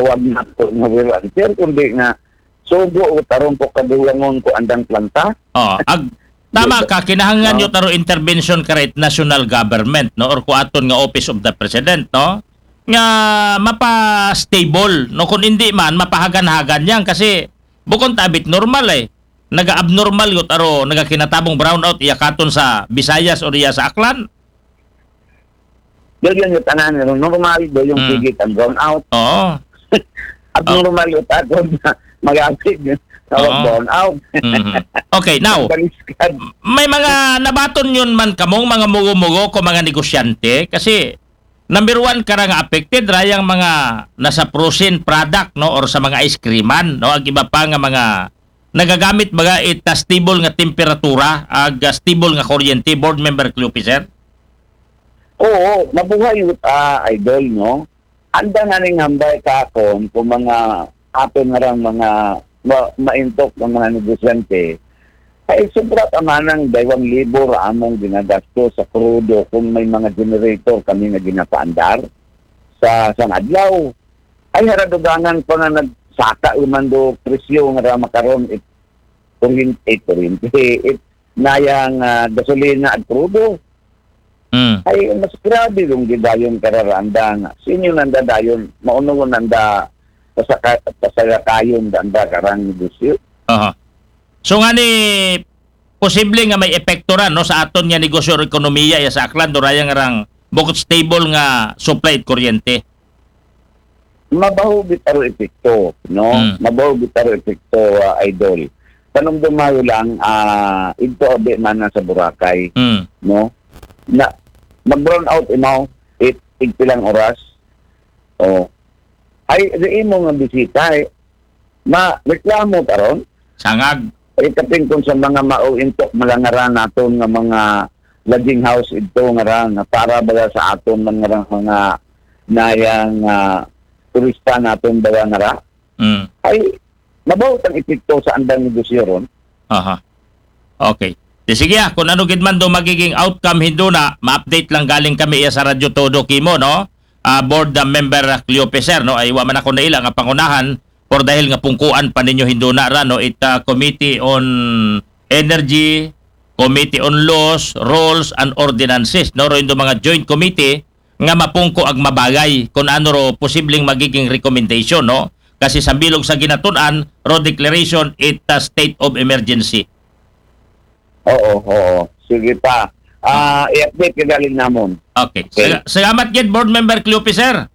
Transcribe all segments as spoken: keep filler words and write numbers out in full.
tawag na po nga wear and tear, kundi nga sugo o tarong ko kadulangon ko andang planta. Oh, ag tama ka, kinahanglan Oh. Yun taro intervention ka right national government, no, or kuaton nga office of the president, no, nga mapa-stable, no, kung hindi man mapahagan-hagan yan kasi bukon tabit normal eh, naga-abnormal yun taro, nagakinatabong brownout iya katon sa Visayas or iya sa Aklan. Yun yung tanan, no? Normal do yung Mm. Sige ang brownout. Oo. Abnormal yung takon na mag-apig. Tawag Oo. Brownout. Mhm. Okay, now, Baliskad. May mga nabaton yun man kamong mga mugo-mugo ko mga negosyante kasi number one kara nga affected rayang mga nasa frozen product, no, or sa mga ice creaman, no, ag iba pa nga mga nagagamit baga it ah, stable nga temperatura ag ah, stable nga kuryente, board member Cleope, sir? Oo, mabuhay, ah, idol, no? Anda nga ning hambay ka akon kung mga aton nga rang mga ma- maintok ng mga negosyante, ay sobra ka manang daywang libor among ginagasto sa krudo kung may mga generator kami nga ginapaandar sa sang adlaw. Ay haradugangan pa nga nagsaka umando presyo nga ra makaron it kuryente, it kuryente, it nayang ah, gasolina at krudo. Mm. Ay mas grabe yung gidayon kararandang. Sinyo nanda dayon, mauno nanda pasaka, pasagakayon nanda karang negosyo. Aha. So nga ni posible nga may epekto ra, no, sa aton nga negosyo o ekonomiya ya sa Aklan do rayang rang bukod stable nga supply it kuryente. Mabaho bitaro epekto, no? Mm. Mabaho bitaro epekto, ah, idol. Panumdumayo lang, ah, ito abi man na sa Boracay, Mm. no? Na mag-brown out imaw it igpilang oras. Oh. Ay, di imo nga bisita eh. Ma reklamo taron. Sangag. Ay kapin kung sa mga mauintok malangaran naton nga mga lodging house ito nga ra nga para baga sa aton man nga ra mga nayang ah, turista naton baga nga ra. Mm. Ay mabaho tang epekto sa andang negosyo ron. Aha. Okay. Di sige ah, kung ano gid man do magiging outcome hindo na, ma-update lang galing kami iya sa Radyo Todo kimo, no? Ah, board ah, member ah, Cleope, sir, no? Ay wa man ako naila nga pangunahan por dahil nga pungkuan pa ninyo hindo na ra, no? It ah, Committee on Energy, Committee on Laws, Rules and Ordinances, no? Ro indo mga joint committee nga mapungko ag mabagay kung ano ro posibleng magiging recommendation, no? Kasi sa bilog sa ginatun-an, ro declaration it ah, state of emergency. Oo, oo. Sige pa. Ah, i-update ka galing namon. Okay. Okay. Sal- salamat gid, board member Cleope, sir.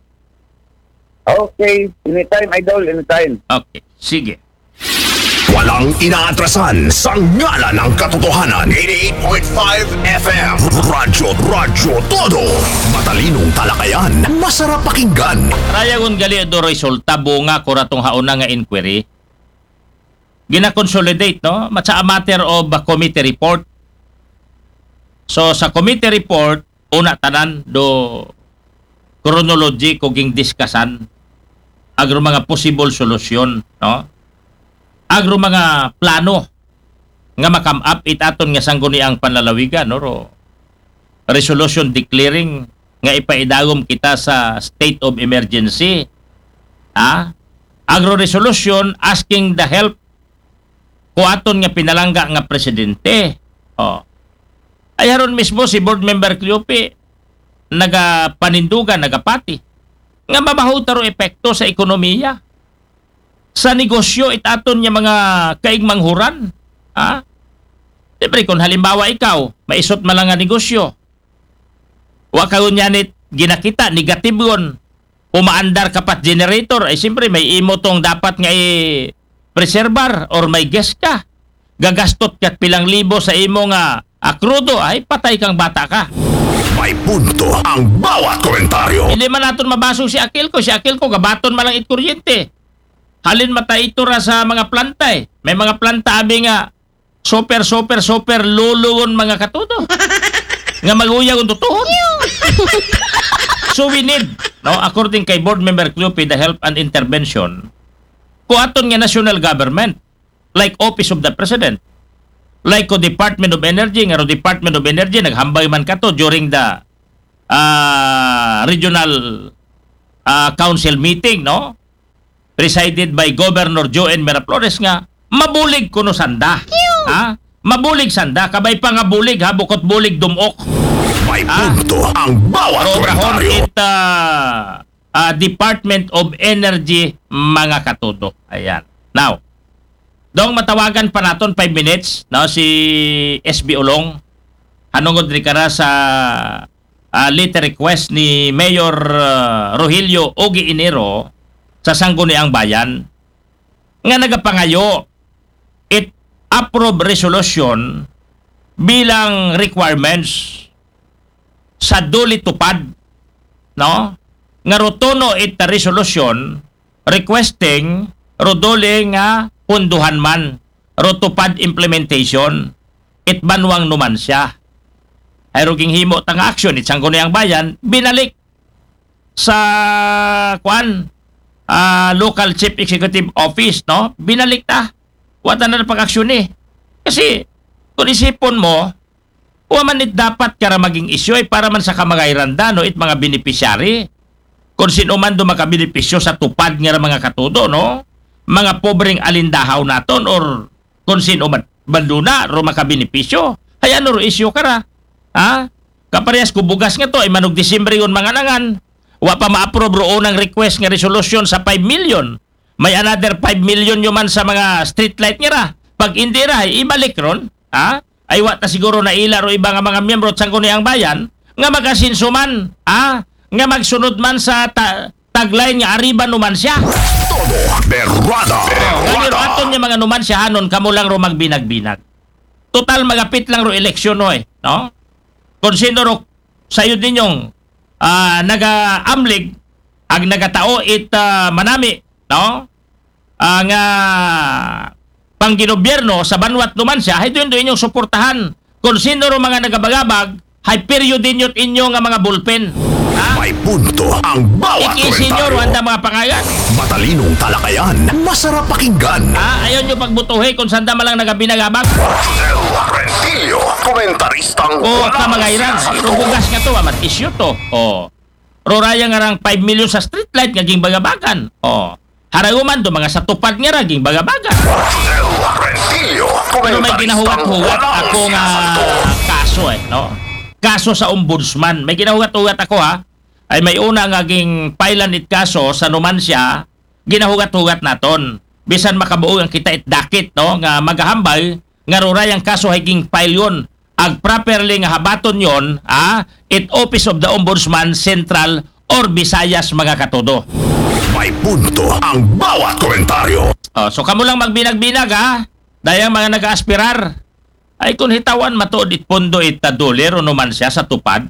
Okay, anytime idol, anytime. Okay. Sige. Walang inaatrasan sa ngalan ng katotohanan. eighty-eight point five F M. Radyo, Radyo Todo. Matalinong talakayan, masarap pakinggan. Rayagon gali do resulta bunga ko ratong hauna nga inquiry. Gina-consolidate, no? Matsa a matter of a committee report. So sa committee report, una tanan do chronology ko ging diskasan agro mga possible solusyon, no? Agro mga plano nga makam-up it aton nga sangguniang panlalawigan, no? Ro resolution declaring nga ipaidagom kita sa state of emergency. Ha? Agro resolution asking the help ko aton nga pinalangga nga presidente. Oh. Ay haron mismo si board member Cleope nagapanindugan, nagapati nga mabaho taro epekto sa ekonomiya, sa negosyo it aton nga mga kaigmanghuran. Ha? Siyempre, kung halimbawa ikaw, maisot man lang nga negosyo, wa ka nganit ginakita, negative yun, umaandar ka pat generator, ay siyempre, may imo tong dapat nga i-preservar or may guest ka. Gagastot ka pilang libo sa imo nga akrudo, ay patay kang bata ka. May punto ang bawat komentaryo. Hindi man naton mabasog si Akil ko, si Akil ko, gabaton man lang it kuryente. Halin matay ito ra sa mga planta eh. May mga planta abi nga super, super, super lulugon mga katudo. Nga maguyag ang tutuhon. So we need, no, according kay board member Cleope, the help and intervention ko aton nga national government, like Office of the President, like ko Department of Energy, nga ro Department of Energy naghambay man kato during the ah, regional ah, council meeting, no? presided by Governor Joen Miraflores nga mabulig kuno sanda. Ha? Mabulig sanda, kabay pa nga bulig ha, bukot bulig dumok. May Ah. punto ang bawat Prograhon komentaryo. it ah, ah, Department of Energy, mga katudo. Ayan. Now, dong matawagan pa naton five minutes, no, si S B Ulong. Hanungod ni kara sa ah, letter request ni Mayor ah, Rogelio Ogie Enero sa Sangguniang Bayan nga nagapangayo it approve resolution bilang requirements sa DOLE TUPAD, no? Nga rutuno it resolution requesting ro DOLE nga punduhan man ro TUPAD implementation it banwang Numancia. Ay ro ginhimo ta nga action it Sangguniang Bayan, binalik sa kuan ah, local chief executive office, no? Binalik ta. Wa ta na pag-aksyon eh. Kasi kung isipon mo, wa man it dapat kara maging isyu ay para man sa kamagayran da, no, it mga beneficiary. Kung sino man do makabenepisyo sa TUPAD nga ra mga katudo, no? Mga pobreng alindahaw naton or kung sino man banduna ro makabenepisyo. Hay ano ro isyu kara? Ha? Kaparehas ko bugas nga to, ay manog Disyembre yun manganangan. Wa pa ma-approve ro unang request nga resolution sa five million. May another five million yun man sa mga street light nga ra. Pag hindi ra, ay ibalik ron. Ha? Ay wa ta siguro naila ro iba nga mga miyembro sa Sangguniang Bayan nga mag-asenso man, ha? Nga magsunod man sa ta- tagline nga Arriba Numancia. Todo Berwada. Nga niro aton nga mga Numanciahanon, kamo lang ro magbinag-binag. Total magapit lang ro eleksyon, no, eh, no? Kung sino ro sayod ninyong ah, naga-amlig, ag nagatao it ah, manami, no? Ah, nga pangginobyerno sa banwat Numancia, hay doon doon inyong suportahan. Kung sino ro mga nagabagabag, hay period ninyo inyo nga mga ballpen. Ha? May punto ang bawat Iki-senior, komentaryo. Wanda, mga pangalan. Matalinong talakayan, masarap pakinggan. Ha? Ayaw nyo pagbutuhi kung sanda malang nagabinagabag. Rodel Rentillo, komentaristang O, walang kamagayran. sinasagot. Ro bugas nga to, amat isyu to. O. Ro raya nga rang five million sa street light nga ginbagabagan. O. Haraguman do mga sa TUPAD nga ra ginbagabagan. Rodel Rentillo, Pero may komentaristang ginahugat-hugat walang ako nga sinasagot. kaso eh, no? Kaso sa ombudsman. May ginahugat-hugat ako, ha. Ay may una nga ging-filean it kaso sa Numancia, ginahugat-hugat naton. Bisan makabuo ang kita it dakit, no? Nga magahambal, nga ruray ang kaso hay ging-file yun. Ag properly nga habaton yon, ah, it Office of the Ombudsman Central or Visayas, mga katudo. May punto ang bawat komentaryo. Oh, so kamo lang magbinag-binag, ha? Dayang mga nag-aaspirar. Ay kung hitawan matuod it pondo it DOLE ro Numancia sa TUPAD,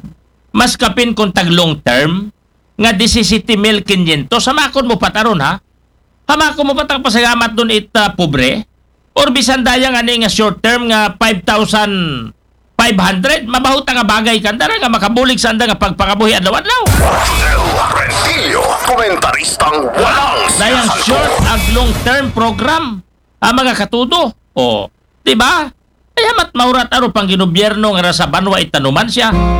mas kapin kung tag long term nga disisiti mil kinyentos. Hamakon mo pataron, ha? Hamakon mo patang pasagamat dun it ah, pobre? Or bisan dayang ani nga short term nga five thousand five hundred, mabaho ta nga bagay kanda ra nga makabulig sa anda nga pagpangabuhi adlaw-adlaw. Rodel Rentillo, komentaristang walang Dayang sinasagot. short ag long term program, ang mga katudo. O, di ba? Ay hamat maurat aro pang ginobyerno nga ra sa banwa it Numancia.